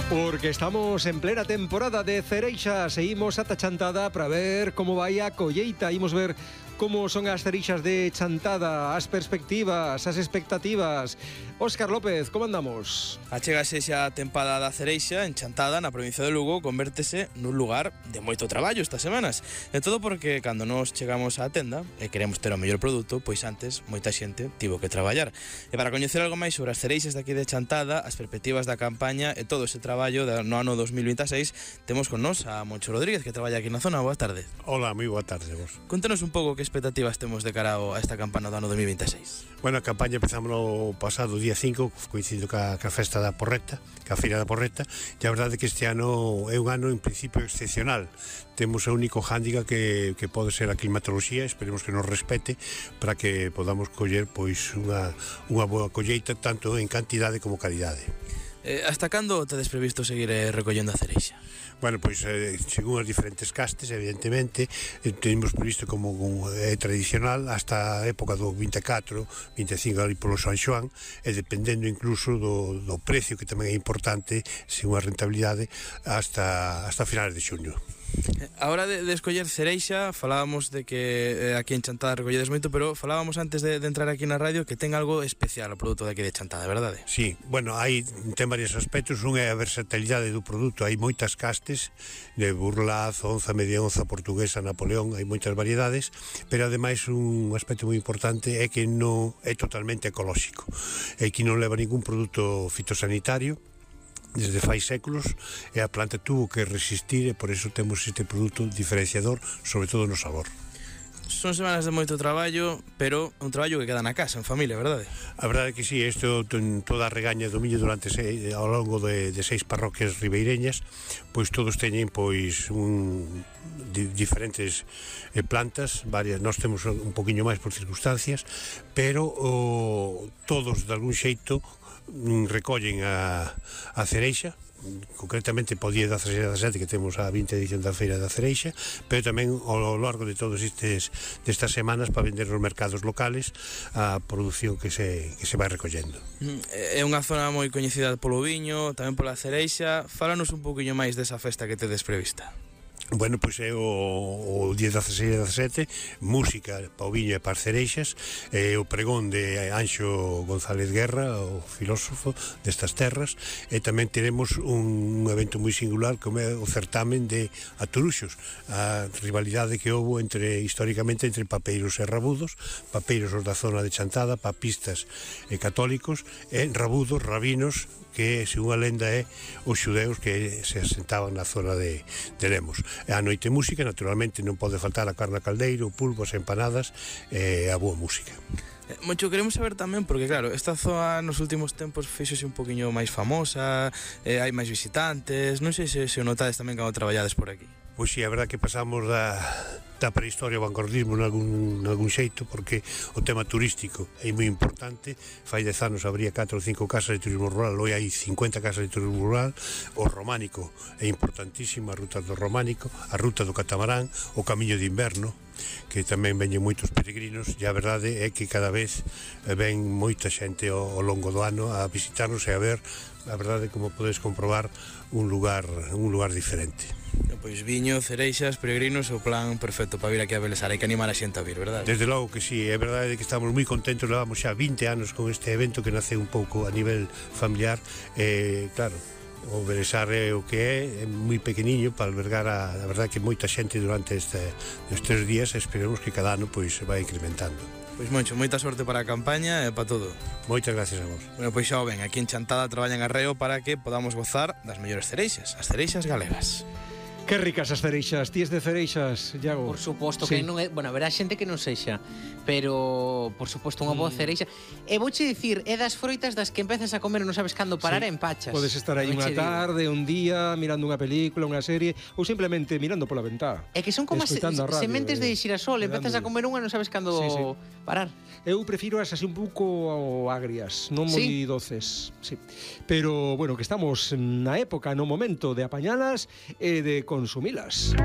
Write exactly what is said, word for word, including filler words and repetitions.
Porque estamos en plena temporada de cereixa. Seguimos ata Chantada para ver como vai a colleita. Imos ver como son as cereixas de Chantada, as perspectivas, as expectativas. Óscar López, como andamos? Achégase xa a tempada da cereixa en Chantada, na provincia de Lugo, convértese nun lugar de moito traballo estas semanas. E todo porque cando nos chegamos á tenda e queremos ter o mellor produto, pois antes moita xente tivo que traballar. E para coñecer algo máis sobre as cereixas daqui de Chantada, as perspectivas da campaña e todo ese traballo no ano dos mil veintiséis, temos con nos a Moncho Rodríguez, que traballa aquí na zona. Boa tarde. Hola, moi boa tarde vos. Contanos un pouco que expectativas temos de cara a esta campaña do ano dos mil veintiséis. Bueno, a campaña empezamos no pasado día cinco, coincidindo ca, ca festa da Porreta, ca feira da Porreta, e a verdade é que este ano é un ano en principio excepcional. Temos o único hándiga que, que pode ser a climatoloxía, esperemos que nos respete para que podamos coller pois unha, unha boa colleita tanto en cantidade como calidade. Eh, hasta cando tedes previsto seguir eh, recollendo a cereixa? Bueno, pois eh, según as diferentes castes, evidentemente, eh, tenemos previsto como un, é eh, tradicional hasta a época do vinte e catro, vinte e cinco ali polo San Xoán, e dependendo incluso do, do precio, que tamén é importante, según a rentabilidade, hasta, hasta finales de xuño. A hora de, de escoller cereixa, falábamos de que eh, aquí en Chantada recolledes moito, pero falábamos antes de, de entrar aquí na radio que ten algo especial o produto de aquí de Chantada, verdade? Sí, bueno, hai ten varios aspectos. Un é a versatilidade do produto. Hai moitas castes de burlaz, onza, media onza, portuguesa, Napoleón, hai moitas variedades, pero ademais un aspecto moi importante é que non é totalmente ecolóxico, é que non leva ningún produto fitosanitario desde fai séculos, e a planta tuvo que resistir, e por eso temos este produto diferenciador, sobre todo no sabor. Son semanas de moito traballo, pero un traballo que queda na casa, en familia, verdade? A verdade é que sí, isto toda a regaña do miño durante seis, ao longo de, de seis parroquias ribeireñas, pois todos teñen pois un di, diferentes eh, plantas, varias, nós temos un poquinho máis por circunstancias, pero o, todos de algún xeito recollen a, a cereixa, concretamente po día dezasseis e dezasete, que temos a vinte edición da feira da cereixa, pero tamén ao largo de todos estes destas semanas para vender nos mercados locales a produción que se, que se vai recollendo. É unha zona moi coñecida polo viño, tamén pola cereixa. Fálanos un pouquiño máis desa festa que tedes prevista. Bueno, pois é o, o día dezasseis e dezasete, música pa o viño e para as cereixas, é o pregón de Anxo González Guerra, o filósofo destas terras, e tamén teremos un, un evento moi singular como é o certamen de aturuxos, a rivalidade que houbo entre históricamente entre papeiros e rabudos, papeiros os da zona de Chantada, papistas e católicos, e rabudos, rabinos, que, según a lenda, é os xudeus que se asentaban na zona de, de Lemos. E a noite música, naturalmente, non pode faltar a carne a caldeiro, pulpos, empanadas e a boa música. Moncho, queremos saber tamén, porque claro, esta zona nos últimos tempos fixose un poquinho máis famosa, eh, hai máis visitantes, non sei se, se o notades tamén cando traballades por aquí. Pois sí, a verdad que pasamos da, da prehistoria ao vanguardismo nalgún, nalgún xeito, porque o tema turístico é moi importante. Fai dez anos habría catro ou cinco casas de turismo rural, hoxe hai cincuenta casas de turismo rural. O románico é importantísimo, a ruta do románico, a ruta do catamarán, o camiño de inverno, que tamén veñen moitos peregrinos, e a verdade é que cada vez ven moita xente ao, ao longo do ano a visitarnos e a ver, a verdade, como podes comprobar, un lugar, un lugar diferente. Pois viño, cereixas, peregrinos, o plan perfecto para vir aquí a Belesar. Hai que animar a xente a vir, verdade? Desde logo que sí, é verdade que estamos moi contentos, levamos xa vinte anos con este evento que nace un pouco a nivel familiar, e claro, o Belesar é o que é, é moi pequeniño para albergar a, a verdade que moita xente durante este, estes días, e esperemos que cada ano pois se vai incrementando. Pois Moncho, moita sorte para a campaña e para todo. Moitas gracias a vos. Bueno, pois xa o ven, aquí en Chantada traballan arreo para que podamos gozar das mellores cereixas, as cereixas galegas. Que ricas as cereixas, tíes de cereixas, Iago. Por suposto Sí. que non é, bueno, haberá xente que non sexa, pero por suposto unha boa cereixa. E vouche dicir, é das froitas das que empezas a comer e non sabes cando parar Sí. e empachas. Podes estar aí Tamén unha che digo. tarde, un día, mirando unha película, unha serie, ou simplemente mirando pola ventá. É que son como as Escoitando a radio, sementes de eh, xirasol, empezas a comer unha e non sabes cando Sí, sí. parar. Eu prefiro as así un pouco agrias, non moi Sí? doces, sí. Pero, bueno, que estamos na época, no momento de apañalas e de consumilas.